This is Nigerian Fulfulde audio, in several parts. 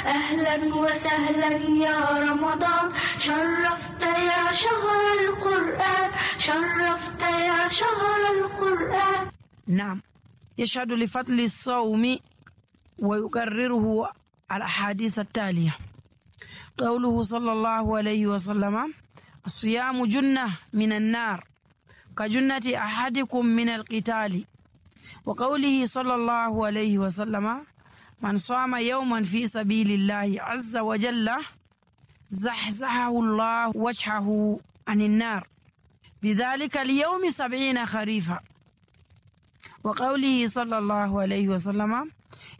أهلا وسهلا يا رمضان شرفت يا شهر القرآن شرفت يا شهر القرآن. نعم، يشهد لفضل الصوم ويكرره الأحاديث التالية. قوله صلى الله عليه وسلم: الصيام جنة من النار كجنة أحدكم من القتال. وقوله صلى الله عليه وسلم: من صام يوما في سبيل الله عز وجل زحزحه الله وجهه عن النار بذلك اليوم 70 خريفا. وقوله صلى الله عليه وسلم: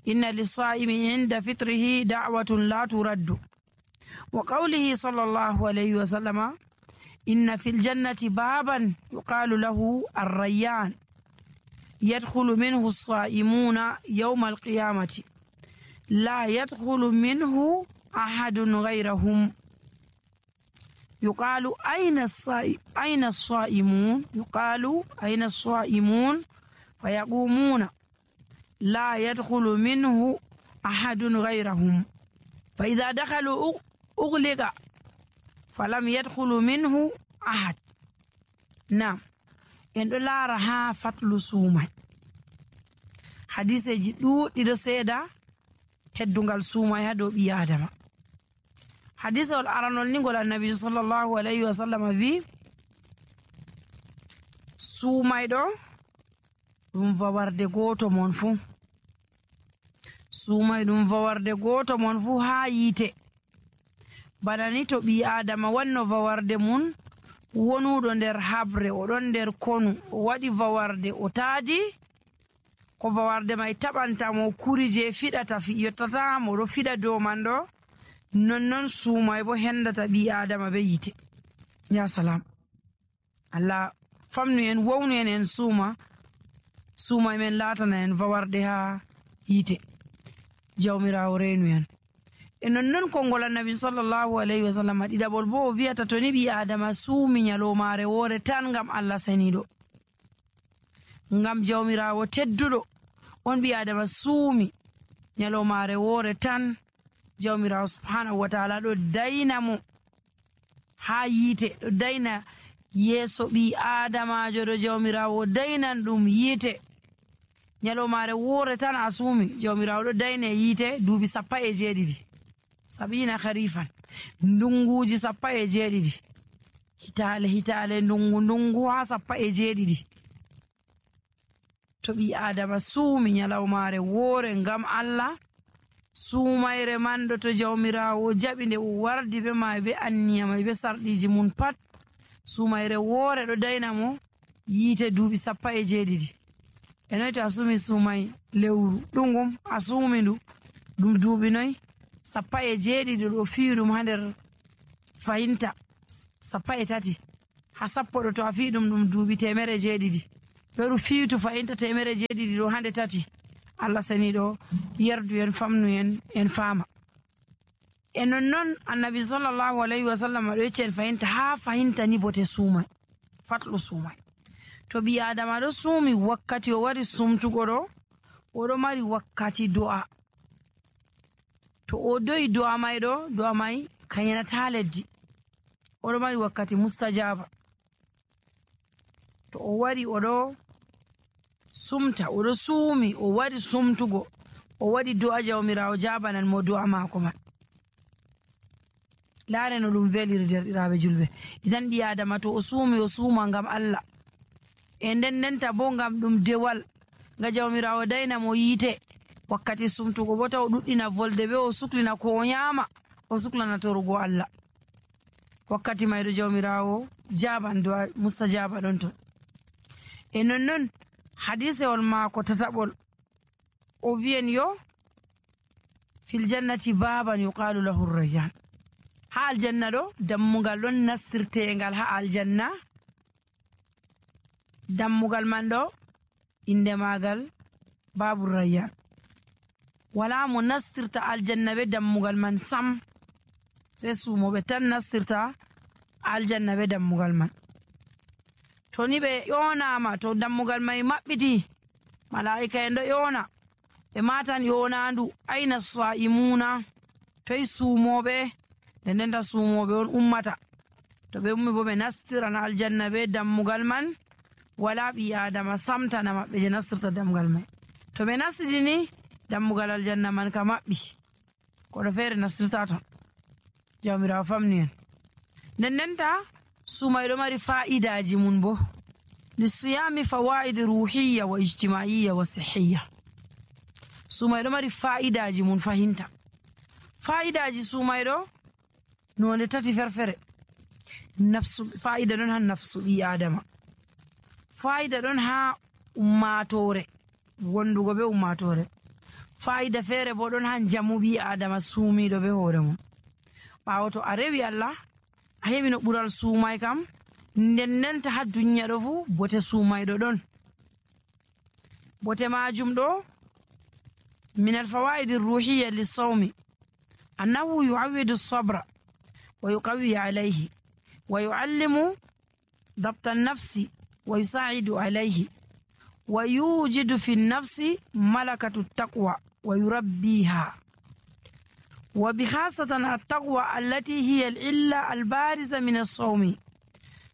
إن للصائم عند فطره دعوة لا ترد. وقوله صلى الله عليه وسلم: إن في الجنة بابا يقال له الريان يدخل منه الصائمون يوم القيامة لا يدخل منه أحد غيرهم. يقال أين الصائمون؟ يقال أين الصائمون؟ فيقومون لا يدخل منه أحد غيرهم، فإذا دخلوا أغلق فلم يدخل منه أحد. نعم، en ɗo laara haa fatlu suumay. Hadiseji ɗuuɗɗiɗo seeda teddungal suumay haa dow ɓii Adama. Hadisewol aranol ni ngol annabi sallallahu alayhi wa sallam wi: suumayɗo ɗum fawarde gooto mon fuu. Suumay ɗum fawarde gooto mon fuu haa yiite. Bana ni to ɓii Adama wanno fawarde mum wonuɗo nder habre, oɗon nder konu, o waɗi fawarde, o taadi ko fawarde may taɓantamo kuri je fiɗata yottatamo, ɗo fiɗa dow man ɗo. Nonnon suumay bo hendata ɓii Adama be yite. Ya salam, Allah famnu en, wownu en suumay men laatana en fawarde haa yite. Jawmirawo reenu en. E nonnon konngol annabi sallallahu alayhi wa sallam ɗiɗaɓol bo o wiyata to ni ɓii Adama suumi nyalomaare woore tan ngam Allah saniiɗo, ngam jawmirawo tedduɗo, on ɓii Adama suumi nyalomaare woore tan, jawmirawo subhanahu wa taala ɗo dayna mo haa yiite, ɗo dayna yeeso ɓii Adamajo ɗo jawmirawo daynan ɗum yiite. Nyalomaare woore tan a suumi, jawmirawo ɗo dayne yiite duuɓi 17 70 harifan, ndunguji 17, hitale ndungu ha 17. To ɓii Adama suumi nyalawmaare woore ngam Allah, suumayre man ɗo to jawmirawo jaɓi nde o wardi be ma be anniya may be sarɗiji mun pat, suumayre woore ɗo dayna mo yiite duuɓi 17. E noy to a suumi suumay lewru ɗungum, a suumi ndu ɗum duuɓi noy 17 ɗo fi'i ɗum ha nder fahimta 13 ha 10 ɗo to a fi'i ɗum duuɓi 100. Ɗoɗum fiitu fahimta 100 ɗo hande 3. Allah saniɗo yerdu en, famnu en faama. E nonnon annabi sallallahu alayhi wa sallam ɗo yecci en fahimta ha fahimta ni bote suumay, fatlu suumay. To ɓii Adama ɗo suumi wakkati o wari sumtugo ɗo, oɗo mari wakkati do'a. To o do'i do'a may kayanata leddi, oɗo mari wakkati mustajaba. To o wari oɗo sumta, oɗo suumi, o wari sumtugo, o waɗi do'a, jawmirawo jabanan mo do'a maako man. Laare no ɗum veliri derɗiraaɓe julɓe. Idan ɓii Adama to o suumi, o suuma ngam Allah, e ndendenta bo ngam ɗum dewal, nga jawmirawo dayna mo yiite. Wakkati sumtugo bo taw ɗuɗɗina volde be o suklina ko o nyama, o suklana torugo Allah. Wakkati mayɗo jawmirawo jaban do'a mustajaba ɗon ton. E nonnon hadisewol maako tataɓol o wiyen yo: fil jannati baban yuqalu lahu rayyan. Ha aljanna ɗo dammugal ɗon nastirtengal ha aljanna. Dammugal man ɗo inde magal babu rayyan. Wala mo nastirta aljanna be dammugal man sam, sai sumoɓe tan nastirta aljanna be dammugal man. To ni ɓe ƴonama, to dammugal may maɓɓiti, malaika en ɗo ƴona, ɓe matan ƴonandu aina sa'imuna, toye suumoɓe nden ndenta suumoɓe on ummata to ɓe ummi bo ɓe nastiran aljanna be dammugal man wala ɓi adama samtana maɓɓe je nastirta dammugal mai to ɓe nastidini dammugal aljanna man ka maɓɓi koɗo feere nastirta ton jawmirawo famni en nden ndenta suumay ɗo mari fa'idaji mun bo lisiyami fawaid ruhiya wa ijtimaiya wa sihiya suumay ɗo mari fa'idaji mun fahinta fa'idaji suumay ɗo nonde tati ferfere nafsu fa'ida ɗon ha nafsu ɓi adama fa'ida ɗon ha ummatore wondugo be ummatore fa'ida feere bo ɗon ha jamu ɓi adama suumiɗo be hoore mum ɓawo to a rewi Allah a heɓi no ɓural suumay kam nden ndenta ha duniya ɗo fu bote suumayɗo ɗon bote majum ɗo min alfawaidi ruhiya lissawmi annahu yuawidu sabra wa yuqawi alayhi wa yuallimu dabta annafsi wa yusaidu alayhi wa yujidu fi nnafsi malakatu taqwa wa yurabbiha وبخاصة التقوى التي هي العلة البارزة من الصوم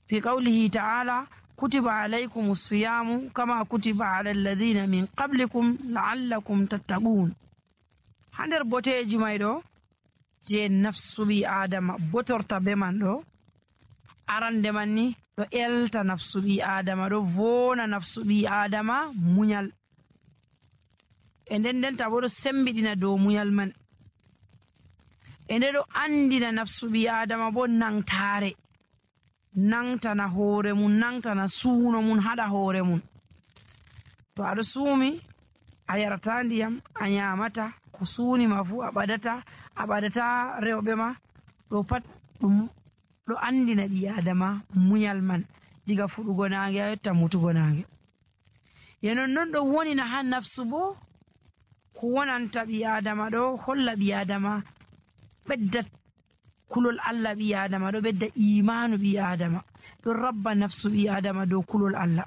في قوله تعالى كتب عليكم الصيام كما كتب على الذين من قبلكم لعلكم تتقون هندر بوتيجي مايدو je nafsu ɓi adama botorta be man ɗo arande man ni ɗo elta nafsu ɓi adama ɗo vona nafsu ɓi adama muñal e nden ndenta bo ɗo sembiɗina dow muñal man e nde ɗo andina nafsu ɓi adama bo nangtare nangtana hoore mum nangtana suuno mum haɗa hoore mum to aɗo suumi a yarata ndiyam a nyamata ko suunima fu a ɓadata rewɓe ma ɗo pat ɗum ɗo andina ɓi adama muñal man diga fuɗugo nange a yotta mutugo nange ye nonnon ɗo wonina ha nafsu bo ko wonanta ɓi adama ɗo holla ɓi adama ɓedda kulol Allah ɓi adama ɗo ɓedda imanu ɓi adama ɗo rabba nafsu ɓi adama dow kulol Allah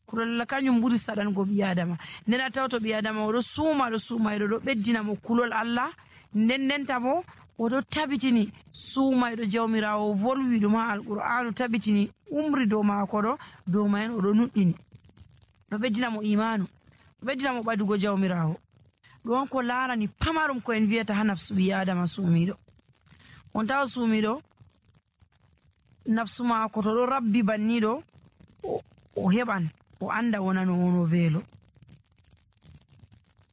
kulol Allah kañum ɓuri saɗango ɓi adama nden a tawto ɓi adama oɗo suumayɗo ɗo ɓeddina mo kulol Allah nden ndenta bo oɗo tabitini suumayɗo jawmirawo volwi ɗum ha alqur'anu tabitini umri dow maako ɗo dow mayen oɗo nuɗɗini ɗo ɓeddina mo imanu ɗo ɓeddina mo ɓadugo jawmirawo ɗon ko larani pamarum ko en wiyata ha nafsu ɓi adama suumiɗo on tawa suumiɗo nafsu maako to ɗo rabbi banniɗo o heɓan o anda wonano wono veelo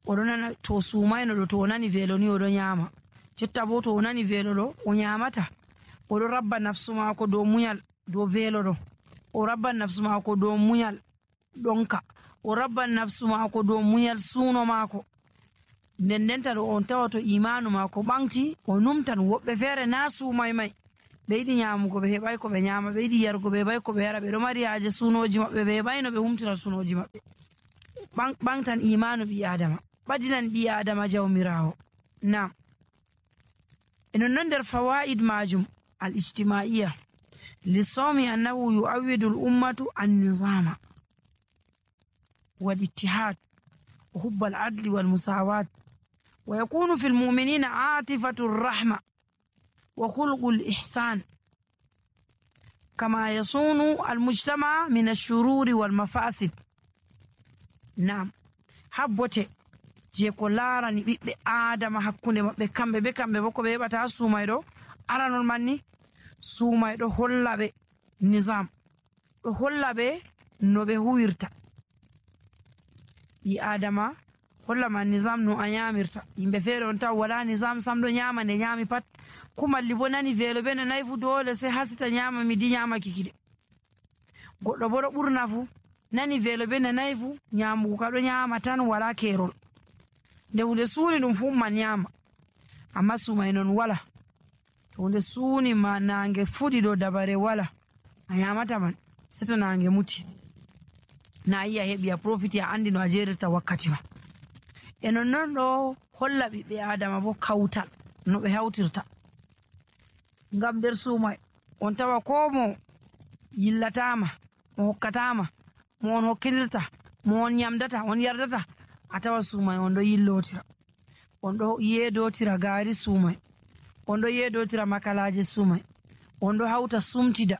oɗo nana to suumayno ɗo to o nani veelo ni oɗo nyama jotta bo to o nani veelo ɗo o nyamata oɗo rabba nafsu maako dow muñal dow veelo ɗo o rabban nafsu maako dow muñal ɗonka o rabban nafsu maako dow muñal suuno maako nden ndenta ɗo on tawa to imanu maako ɓanti o numtan woɓɓe feere na suumay may ɓe yiɗi nyamugo ɓe heɓay ko ɓe nyama ɓe yiɗi yarugo ɓe heɓay ko ɓe yara ɓeɗo mari haaje sunoji maɓɓe ɓe heɓayno ɓe humtira sunoji maɓɓe ɓantan imanu ɓi adama ɓadinan ɓi adama jawmirawo nam e nonnon nder fawaid majum al ijtimaiya lissawmi annahu yuawidu l ummatu annizama wal ittihad wa hubba al adli wal musawat ويكون في المؤمنين عاطفة الرحمة وخلق الإحسان كما يصون المجتمع من الشرور والمفاسد نعم habbote je ko larani ɓiɓɓe adama hakkunde maɓɓe kamɓe be kamɓe bo ko ɓe heɓata ha suumayɗo aranol manni suumayɗo holla ɓe nisam ɗo holla ɓe no ɓe huwirta ɓi adama holla ma nisam no a nyamirta yimɓe feere on taw wala nisam sam ɗo nyama nde nyami pat kumalli bo nani veelo ɓe no nayi fu dole sai hasita nyama midi nyamaki kiɗe goɗɗo bo ɗo ɓurna fu nani veelo ɓe no nayi fu nyamugo ka ɗo nyama tan wala kerol nde hunde suuni ɗum fu man nyama amma sumay non wala to hunde suuni ma nange fuɗi ɗo dabare wala a nyamata man sito nange muti na yi a heɓi a profiti a andi no a jerirta wakkati ma e nonnon ɗo holla ɓiɓɓe adama bo kawtal no ɓe hawtirta ngam nder suumay on tawa ko mo yillatama mo hokkatama mo on hokkilirta mo on yamdata on yardata a tawa suumay on ɗo yillotira on ɗo yeedotira gaari suumay, on ɗo yeedotira makalaaje suumay, on ɗo hawta sumtida,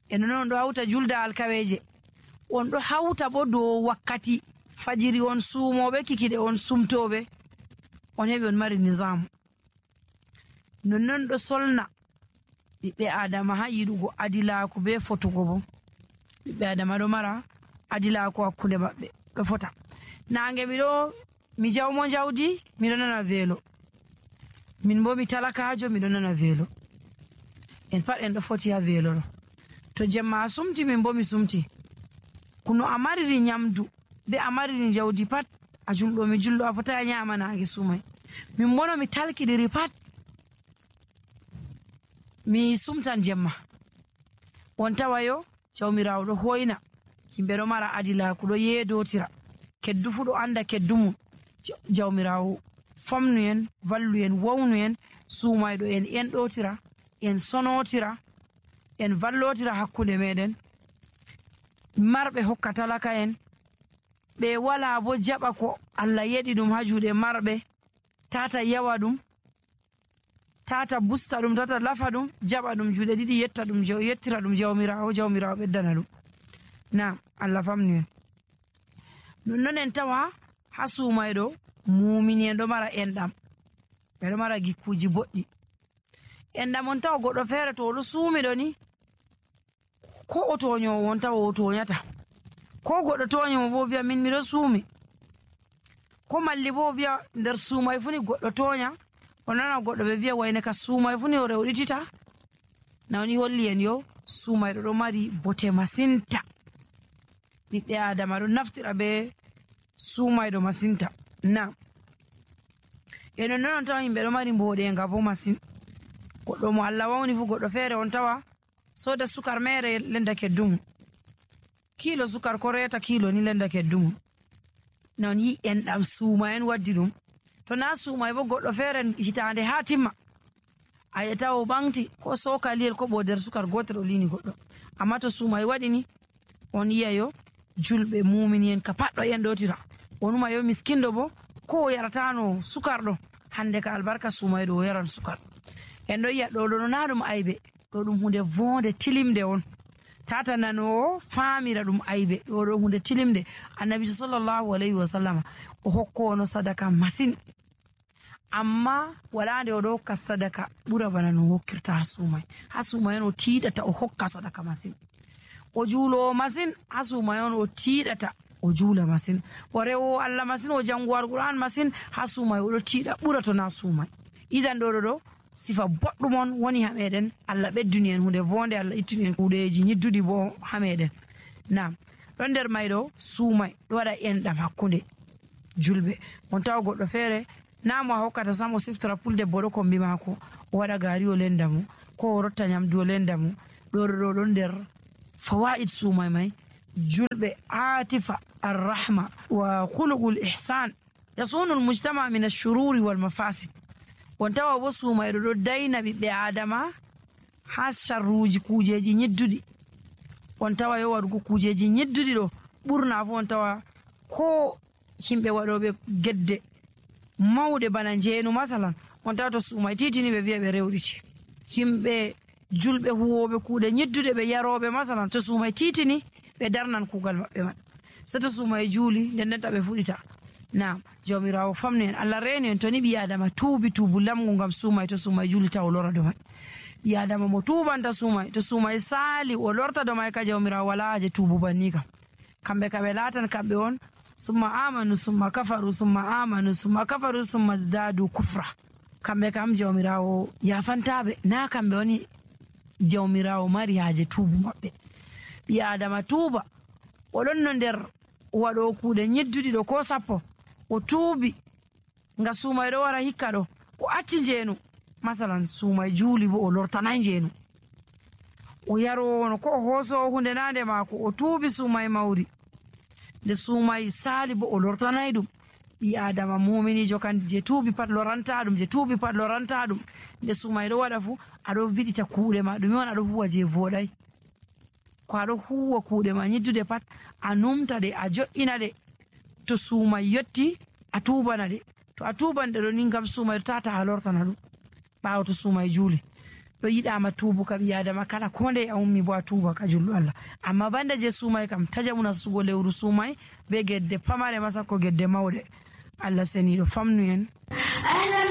e non on ɗo hawta julda alkaweeje, on ɗo hawta bo dow wakkati fajiri on suumooɓe, kikiɗe on sumtooɓe, on heɓi on mari nisamu. Nonnon ɗo solna ɓiɓɓe adama ha yiɗugo adilaaku be fotugo bo. Ɓiɓɓe adama ɗo mara adilaaku hakkunde maɓɓe ɗo fota. Nange mi jawmo jawdi miɗo nana weelo, min bo mi talakaajo miɗo nana weelo. En pat en ɗo foti ha weelo ɗo. To jemma a sumti min bo mi sumti, kuno a mariri nyamdu be a mariri jawdi pat a julɗo mi julɗo, a fota a nyama nange sumay. Min bono mi talkidiri pat mi sumtan jemma. On tawayo jawmirawo ɗo hoyna yimɓe ɗo mara adilaaku, ɗo yeedotira, keddu fu ɗo anda keddu mum. Jawmirawo famnu en, vallu en, wawnu en, suumayɗo en enɗotira, en sonotira, en vallotira hakkunde meɗen. Marɓe hokka talaka en, ɓe wala bo jaɓa ko Allah yeɗi ɗum ha juuɗe marɓe, tata yawa ɗum, tata busta ɗum, tata lafa ɗum, jaɓa ɗum juuɗe ɗiɗi yettira ɗum jawmirawo, jawmirawo ɓeddana ɗum. Na Allah famnu en. Nonnon en tawa ha suumayɗo mumini en ɗo mara enɗam, ɓeɗo mara gikkuji boɗɗi. Enɗam on tawa goɗɗo feere to oɗo suumiɗo ni, ko o toñowo on tawa o toñata, ko goɗɗo toñimo bo wiya min miɗo suumi, ko malli bo wiya nder suumay funi goɗɗo toña, o nana goɗɗo ɓe wiya wayne ka suumay funi o rewɗitita. Nawni holli en yo suumayɗo ɗo mari bote masinta. Ɓiɓɓe adama ɗo naftira be suumayɗo masinta. Na e non non on tawa yimɓe ɗo mari mboɗenga bo masin. Goɗɗo mo Allah wawni fu, goɗɗo feere on tawa soda sukar mere lenda keddumu, kilo sukar ko reta kilo ni lenda keddumu. Non yi enɗam suuma en waddi ɗum. To na suumay bo goɗɗo feere hitande ha timma a yetta o ɓanti ko sokaliyel ko ɓo nder sukar gotel o lini goɗɗo. Amma to suumay waɗi ni, on yiya yo julɓe mumini en ka pat ɗo enɗotira. Onuma yo miskindo bo ko o yaratano sukar ɗo, hande ka albarka suumayɗo o yaran sukar. En ɗo yiya ɗo ɗo na ɗum aybe, ɗo ɗum hunde vonde tilimde on. Tata nanowo famira ɗum aybe, ɗo ɗo hunde tilimde. Annabi sallallahu alayhi wa sallama o hokkono sadaka masin, amma wala nde o ɗo hokka sadaka ɓura bana no hokkirta ha suumay. Ha suumay on o tiiɗata o hokka sadaka masin. O juulowo masin, ha suumay on o tiiɗata o juula masin. O rewowo Allah masin, o janguwo Alqur'an masin, ha suumay o ɗo tiiɗa ɓura to na suumay. Idan ɗo sifa boɗɗum on woni ha meɗen. Allah ɓedduni en hunde vonde, Allah ittini en kuuɗeji ñidduɗi bo ha meɗen. Nam ɗon nder mayɗo suumay ɗo waɗa enɗam hakkunde julɓe. On tawa goɗɗo feere na mo a hokkata sam o siftora pulde boɗo kombi maako, o waɗa gaari o lenda mo, ko o rotta nyamdu o lenda mo. ɗo ɗon nder fawaid suumay may. Julɓe atifa arrahma wa khuluqul ihsan yasunu almujtama min ashururi wal mafasid. On tawa bo suumayɗo ɗo dayna ɓiɓɓe adama ha sharruji kujeji ñidduɗi. On tawa yo waɗugo kujeji ñidduɗi ɗo ɓurna fu on tawa ko himɓe waɗoɓe gedde mawɗe bana njeenu masalan, on tawa to suumay titini ɓe wiya ɓe rewɗiti. Himɓe julɓe huwoɓe kuuɗe ñidduɗe ɓe yaroɓe masalan, to suumay titini ɓe darnan kuugal maɓɓe man. So to suumay juuli ndendenta ɓe fuɗita. Na jawmirawo famnu en, Allah reeni en. To ni ɓi adama tuubi tuubu lamgu ngam suumay, to suumay juuli taw o lora do may. Ɓi adama mo tuubanta suumay, to suumay saali o lorta do may ka jawmirawo wala haje tuubu banni kam. Kamɓe ka ɓe laatan kamɓe on summa amanu summa kafaru summa amanu summa kafaru summa zdadu kufra. Kamɓe kam jawmirawo yafantaɓe, na kamɓe woni jawmirawo mari haje tuubu maɓɓe. Ɓi adama tuuba, oɗon no nder waɗo kuuɗe ñidduɗi ɗo ko sappo, o tuubi nga suumay ɗo wara hikka ɗo, o acci njeenu masalan suumay juuli bo o lortanay njeenu, o yarowono ko o hoosowo hunde nande maako, o tuubi suumay mawri, nde suumay saali bo o lortanay ɗum. Ɓi adama muminijo kan je tuubi pat loranta ɗum, je tuubi pat loranta ɗum. Nde suumay ɗo waɗa fu aɗo viɗita kuuɗe ma, ɗum on aɗo huwa je voɗay. Ko aɗo huwa kuuɗe ma ñiddude pat a numta ɗe, a jo'ina ɗe. To suumay yotti a tubana ɗe to a tuban ɗe ɗo ni ngam sumay tata a lortana ɗum ɓawo to sumay juuli ɗo yiɗama tubu ka ɓi adama kala ko nde a ummi bo a tuba ka julɗo Allah amma banda je sumay kam tajaɓu nastugo lewru sumay be gedde pamare masa ko gedde mawɗe Allah seniɗo famnu en.